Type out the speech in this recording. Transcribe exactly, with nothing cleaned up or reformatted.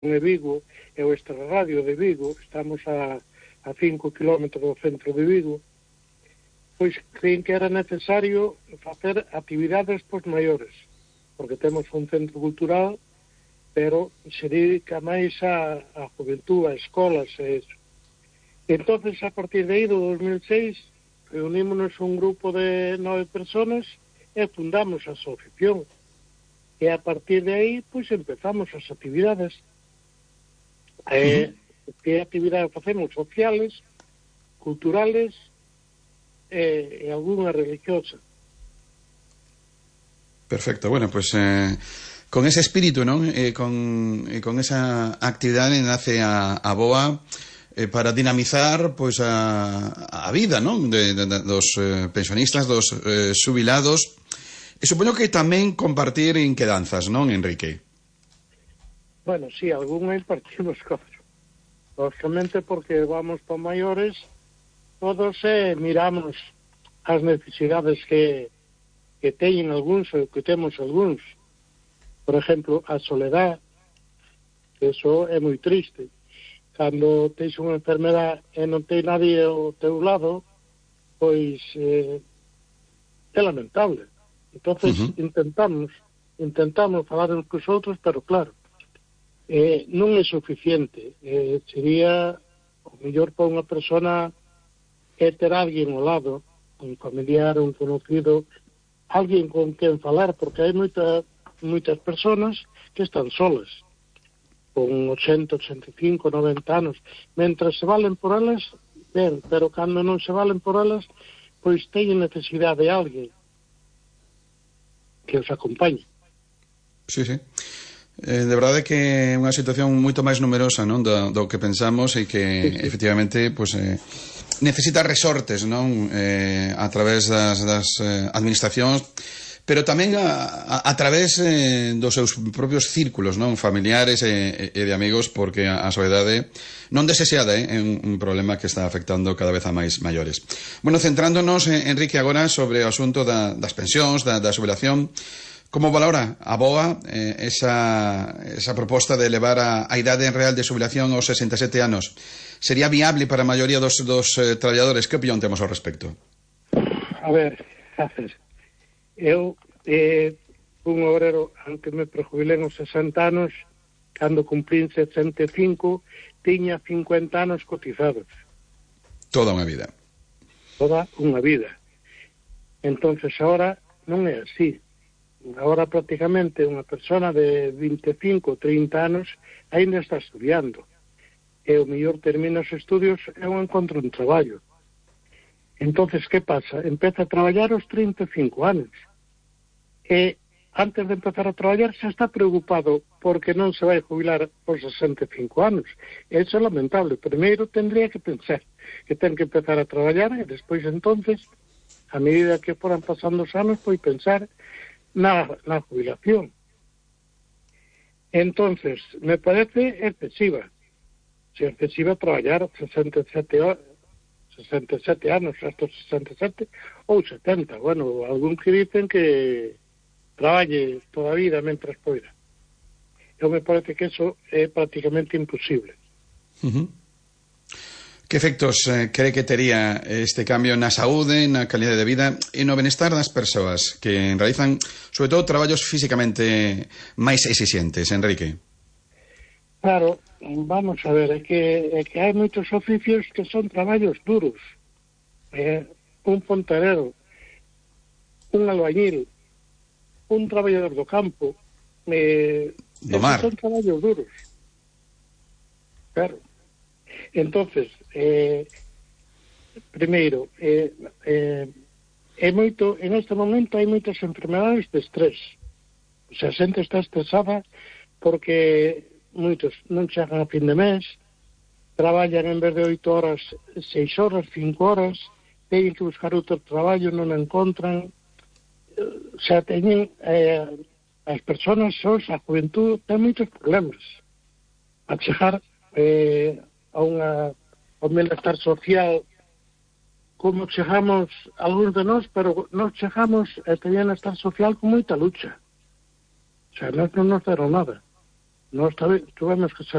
de Vigo e o Extrarradio de Vigo, estamos a, a cinco kilómetros do centro de Vigo, pois creín que era necesario facer actividades pos maiores, porque temos un centro cultural, pero se dedica máis a, a juventud, a escolas e eso. Entonces, a partir de aí, do dos mil seis, reunímonos un grupo de nove personas e fundamos a asociación. E a partir de aí, pois, empezamos as actividades. Eh, uh-huh. Que actividades facemos? Sociales, culturales e, e alguna religiosa. Perfecto, bueno, pues eh, con ese espíritu, ¿no? Eh, con, eh, con esa actividade nace a, a BOA eh, para dinamizar pues a, a vida, ¿no? De, de, de, dos eh, pensionistas, dos eh, xubilados. E supoño que tamén compartir inquedanzas, non, Enrique? Bueno, sí, algúnas partimos cosas. Lógicamente, porque vamos para maiores, todos eh, miramos as necesidades que, que teñen algúns ou que temos algúns. Por exemplo, a soledad, que eso é moi triste. Cando tens unha enfermedade e non ten nadie ao teu lado, pois eh, é lamentable. Entonces uh-huh. intentamos intentamos falar uns cos outros, pero claro, eh, non é suficiente. Eh, sería o mellor para unha persona é ter alguén ao lado, un familiar, un conocido, alguén con quen falar, porque hai moita, moitas personas que están solas, con ochenta, ochenta e cinco, noventa anos. Mentras se valen por elas, ben, pero cando non se valen por elas, pois teñen necesidade de alguén que os acompañe. Sí, sí. Eh, de verdade que é unha situación moito máis numerosa, non, do, do que pensamos e que sí, sí. efectivamente pues, eh, necesita resortes, non, eh, a través das, das eh, administracións, pero tamén a, a, a través eh, dos seus propios círculos, non, familiares e, e de amigos, porque a, a soledade non desexada eh, é un, un problema que está afectando cada vez a máis maiores. Bueno, centrándonos, eh, Enrique, agora sobre o asunto da, das pensións, da, da xubilación, como valora a BOA eh, esa, esa proposta de elevar a, a idade real de xubilación aos sesenta e sete anos? Sería viable para a maioría dos, dos eh, traballadores? Que opinión temos ao respecto? A ver, a ver, eu eh, un obrero, aunque me prejubilén aos sesenta anos, cando cumplín sesenta e cinco, tiña cincuenta anos cotizados. Toda unha vida. Toda unha vida. Entonces, ahora non é así. Agora prácticamente unha persona de vinte e cinco, trinta anos ainda está estudiando. E o mellor termina os estudios e non encontra un traballo. Entonces, que pasa? Empeza a traballar aos trinta e cinco anos. E antes de empezar a traballar xa está preocupado porque non se vai jubilar aos sesenta e cinco anos. Eso é lamentable. Primeiro tendría que pensar que ten que empezar a traballar e despois entonces, a medida que foran pasando os anos, pois pensar na, na jubilación. Entonces, me parece excesiva. Se excesiva traballar sesenta e sete horas, sesenta e sete anos, hasta sesenta e sete ou setenta. Bueno, algún que dicen que traballe toda a vida mentras poida. Eu me parece que eso é prácticamente imposible. Uh-huh. Que efectos eh, cree que tería este cambio na saúde, na calidade de vida e no benestar das persoas que realizan, sobre todo, traballos físicamente máis exixentes, Enrique? Claro, vamos a ver, é que, é que hai moitos oficios que son traballos duros. Eh, un fontanero, un albañil, un traballador do campo, eh, do mar. Son traballos duros. Claro. Entonces, eh, primeiro, eh, eh, é moito, en este momento hai moitas enfermedades de estrés. O sea, a xente está estresada porque moitos non chegan a fin de mes, traballan en vez de oito horas, seis horas, cinco horas, teñen que buscar outro traballo, non encontran. O sea, teñen eh, as persoas, a juventud, ten moitos problemas a chegar eh, a unha ao bienestar social, como chegamos algúns de nós, pero nós chegamos a este bienestar social con moita lucha. O sea, nós non nos deron nada. Nós tuvemos que salir